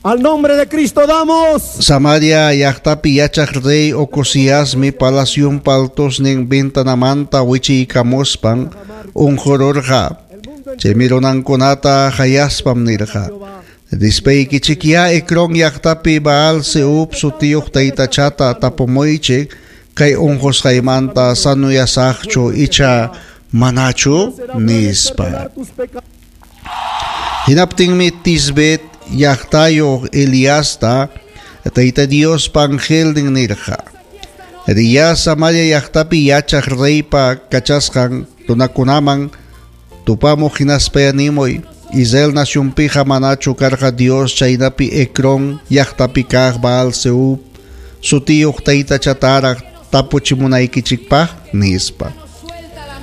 Al nombre de Cristo damos. Samaria llaqtapi yachaq rey Ocosiasmi palacionpa altosnin ventanamanta wichiykamuspan unqururqa. Chaymi runankunata qayaspam nirqa: Rispaykichikyá Ecrón llaqtapi Baal Zeub sutiyuq taytachata tapumuychik kay unqusqaymanta sanuyasaqchu icha manachu nispa. Hinaptinmi Tisbet llaqtayuq Eliasta Tayta Diospa angelnin nirqa: Riyá Samaria llaqtapi yachaq reypa kachasqan runakunaman tupamuq hinaspaya nimuy: Israel nacionpiqa manachu karqa Dios chaynapi Ecrón llaqtapi kaq Baal Zeub sutiyuq taytachataraq tapuchimunaykichikpaq nispa.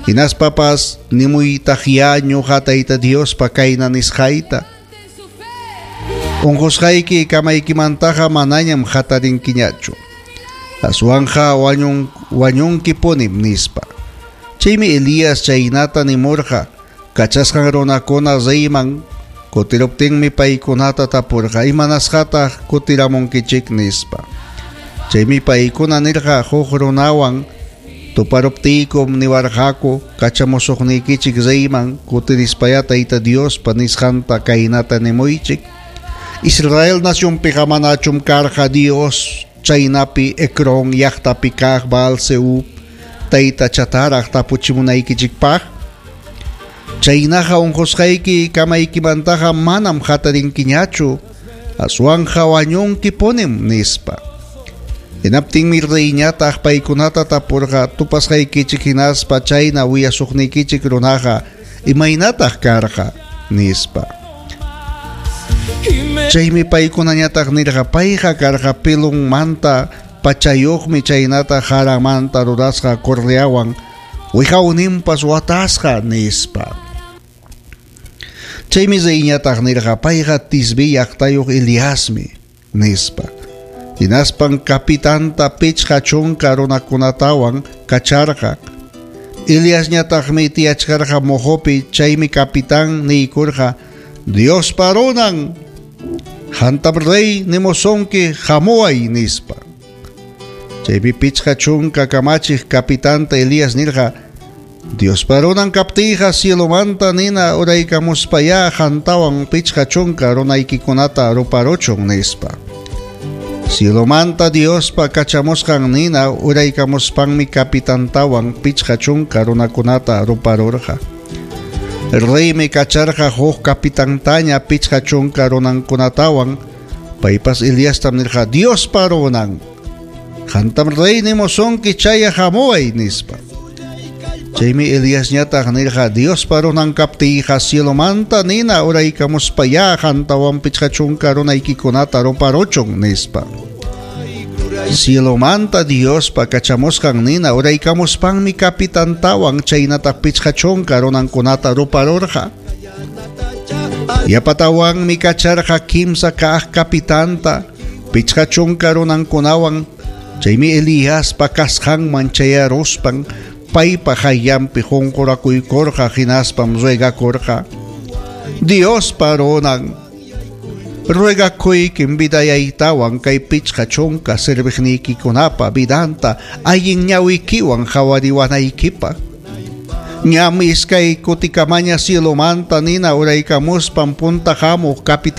Hinaspapas nimuytaqyá ñuqa Tayta Diospa kayna nisqayta: Unqusqayki kamaykimantaqa manañam hatarinkiñachu. Aswanqa wañunkipunim nispa. Chaymi Elías chaynata nimurqa kachasqan runakuna reyman kutiruptinmi paykunata tapurqa: Imanasqataq kutiramunkichik nispa. Chaymi paykuna nirqa: Huk runawan tuparuptiykum niwarqaku kachamusuqniykichik reyman kutirispaya Tayta Diospa nisqanta kaynata nimuychik: Israel nacionpiqa manachum karqa Dios chaynapi Ecrón llaqtapi kaq Baal Zeub taytachataraq tapuchimunaykichikpaq. Chaynaqa unqusqayki kamaykimantaqa manam hatarinkiñachu, aswanqa wañunkipunim nispa. Hinaptinmi reyñataq paykunata tapurqa: Tupasqaykichik hinaspa chayna willasuqniykichik runaqa imaynataq karqa nispa. Chaymi paykunañataq nirqa: Payqa karqa pelonmanta pachayuqmi chaynata jaramanta rurasqa correawan wiqawninpas watasqa nispa. Chaymi reyñataq nirqa: Payqa Tisbe llaqtayuq Eliasmi nispa. Hinaspan kapitanta 50 runakunatawan kacharqa. Eliasñataqmi tiyachkarqa mojopi, chaymi capitán niykurqa: Diospa runan, hantam rey nimusonki hamuway nispa. Chaymi 50 kamachiq kapitanta Elías nirqa: Diospa runan kaptiyqa cielomanta nina uraykamuspayá hantawan 50 runaykikunata ruparuchun nispa. Cielomanta Diospa kachamusqan nina uraykamuspanmi kapitantawan 50 runakunata ruparurqa. Reymi kacharqa huk kapitantaña 50 runankunatawan, paypas Eliastam nirqa: Diospa runan, hantam rey nimusunki chaya hamuway nispa. Chaymi Eliasñataq nirqa: Diospa runan kaptiyqa cielomanta nina uraykamuspayá hantawan 50 runaykikunata ruparuchun nispa. Cielomanta Diospa kachamusqan nina uraykamuspanmi kapitantawan chaynataq 50 runankunata ruparurqa. Yapatawanmi kacharqa 3 kaq kapitanta 50 runankunawan. Chaymi Eliaspa kasqanman chayaruspan paypa hayllanpi qunqurakuykurqa hinaspam ruegakurqa: Diospa runan, ruegakuykim vidayaytawan kay 50 serviqniykikunapa vidanta allin ñawikiwan qhawariwanaykipaq. Ñam iskay kutikamaña cielomanta nina uraykamuspan punta hamuq capitán